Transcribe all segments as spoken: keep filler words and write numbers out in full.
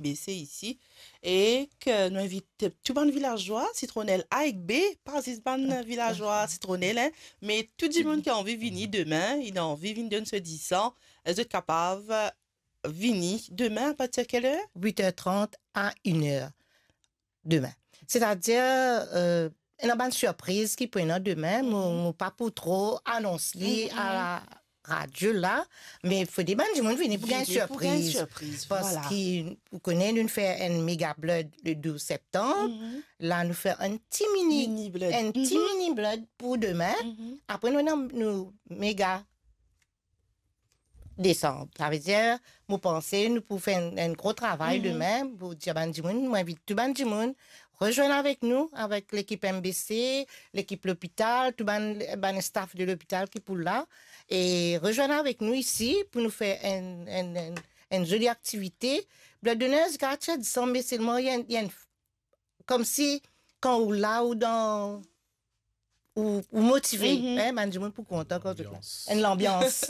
MBC isi, e ki nou invit tou bann vilazwa Sitronel A ek B, pa zis bann vilazwa Sitronel, hein, me tou dimoun ki anvi vini demin, inn anvi vinn donn so disan, zot kapav vini demin, apartir kel er? Wit er trant a inn er demin. Setadir, euh, ena bann sirpriz ki pou ena demin, mo, mo pa pou tro anons li a radio la, me fode bann dimoun vini pou gagn sirpriz. Vini pou gagn sirpriz, vwala. Parski ou kone nou fer enn mega blood le douz septanm, la nou fer enn ti mini, mini blood, enn ti mini blood pou demin. Apre nou ena nou mega desanm. Savedir, mo panse nou pou fer enn, enn gro travay demin, pou dir bann dimoun, mo invit tou bann dimoun, rezwenn avek nou, avek lekip MBC, lekip lopital, tou bann, bann staff de lopital ki pou la, e rezwenn avek nou isi pou nou fer enn, enn, enn, enn zoli aktivite. Blood donor, zis katrevin disan, me selman, li enn, li enn, koumsi kan ou la, ou dan, ou, ou motive, hein, bann dimoun pou kontan kan zot la. Lanbians. Enn lanbians.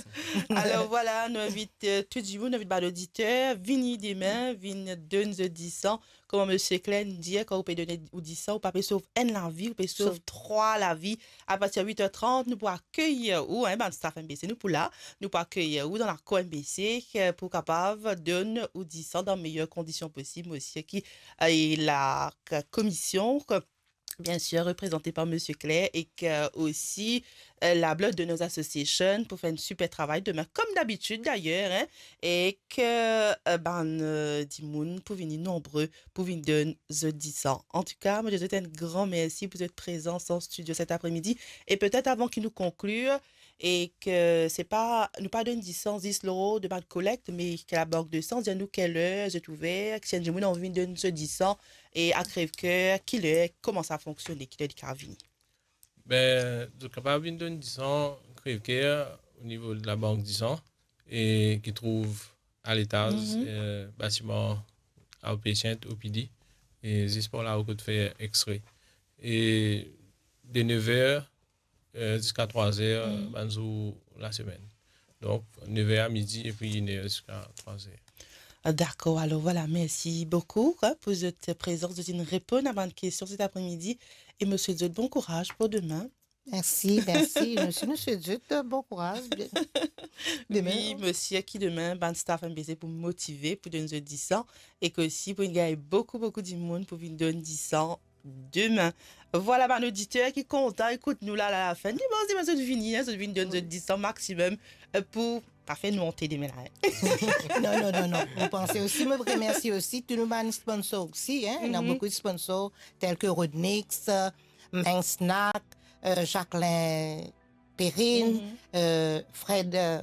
Alor vwala, nou invit, euh, tou dimoun, nou invit bann oditer, vini demin, vinn donn zot disan. Kouma Misie Claire inn dir, kan ou pe donn ou disan, ou pa pe sov enn lavi, ou pe sov trwa lavi. Apartir wit er trant, nou pou akeyir ou, hein, bann staff MBC, nou pou la, nou pou akeyir ou dan lakour MBC, euh, pou kapav donn ou disan dan meyer kondision posib, me osi ki, euh, la k-, komision, k-, bien sûr, reprezante par Misie Claire, e ki, euh, osi, euh, la Blood Donors Association pou fer enn siper travay demin, kom dabitid dayer, hein, e ki, euh, bann, euh, dimoun pou vini nonbre pou vinn donn zot disan. Antouka, mo dir zot enn gran mersi pou zot prezans an stidio set apremidi. E petet avan ki nou konklir, e ki se pa, nou pa donn disan zis lor demann kolekt, me ki labank de san dir nou kel er zot ouver, ki si enn dimoun anvi vinn donn so disan, e a Crèvecoeur, ki ler, kouma sa fonksione, ki ler li kapav vini? Be, zot kapav vinn donn disan Crèvecoeur, o nivo de labank disan, e ki trouv a letaz, mhm, eh, batiman outpatient, O P D, e zis par lao kot fer X-ray. E de nev er, eh, ziska trwa er, mhm, bann zour lasemenn. Donk, nev er a midi epi inn er ziska trwa er. Ah, dakor. Alor, vwala, mersi boukou, hein, pou zot prezans, zot inn reponn a bann kestion set apremidi. E mo swet zot bon kouraz pou demin. Mersi, mersi. Mersi, nou swet zot bon kouraz. Bien. Demin. Wi, mo sir ki demin, bann staff MBC pou motive, pou donn zot disan, e ki osi pou gagn boukou, boukou dimoun pou vinn donn disan demin. Vwala, bann oditer ki kontan ekout nou la, la, lafen. Dimans, dimans, zot vini, hein, zot vinn donn zot disan maximum, euh, pou pa fer nou onte demin la, hein. Non, non, non, non. Mo panse osi, mo remersi osi tou nou bann sponsor osi, hein. Ena, mhm, boukou sponsor, tel ki Rodnix, euh, Main Snack, euh, Jacqueline Perrine, mhm, euh, Fred, euh,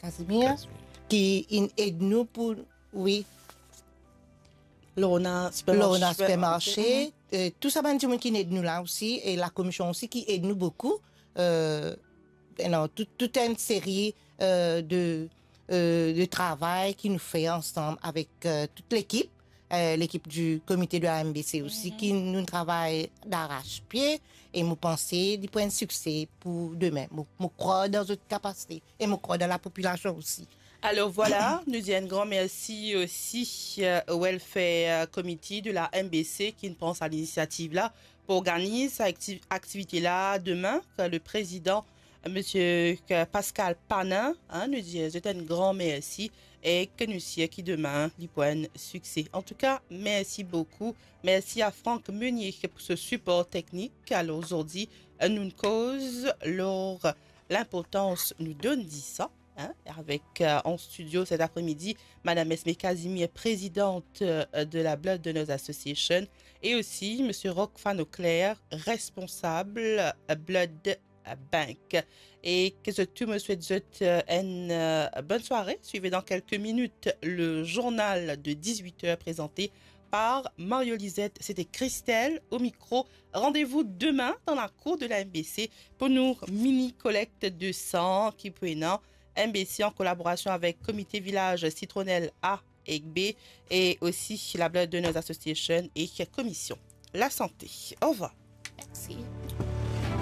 Casimir, Casimir, ki inn ed nou pou, wi. Lorna Supermarché. Lorna Supermarché, mhm, euh, tou sa bann dimoun ki inn ed nou la osi, e lakomision osi ki ed nou boukou. Euh, non, tout, tout enn seri, euh, de, euh, de travay ki nou fer ansam avek, euh, tout lekip, euh, lekip di komite de la MBC osi, mhm, ki nou travay daras pie, e mo panse li pou enn sikse pou demin. Mo, mo krwar dan zot kapasite, e mo krwar dan lapopilasion osi. Alor vwala, nou dir enn gran mersi osi, euh, au Welfare Committee de la MBC ki inn pran sa linisiativ la pou organiz sa akti-, aktivite la demin, ki le prezidan, Misie Pascal Panin, hein, nou dir zot enn gran mersi, e ki nou sir ki demin li pou enn sikse. Antouka, mersi boukou. Mersi a Franck Meunier pou so sipor teknik. Alor, zordi, euh, nou koz lor linportans nou donn disan, hein, avek, euh, an stidio set apremidi, Madam Esme Casimir, prezidant, euh, de la Blood Donors Association, e osi Misie Rock Fanoclair, responsab, euh, Blood Bank. E ki zot tou, mo swet zot, euh, enn, euh, bonn sware. Swiv dan kelke minit le zournal de dizwit er prezante par Mario Lisette, sete Christelle au micro. Randevou demin dan lakour de la MBC pou nou mini kolekt de san ki pou ena MBC an kolaborasion avek Komite Vilaz Sitronel A ek B e osi la Blood Donors Association e Komision Lasante. Orvwar. Mersi.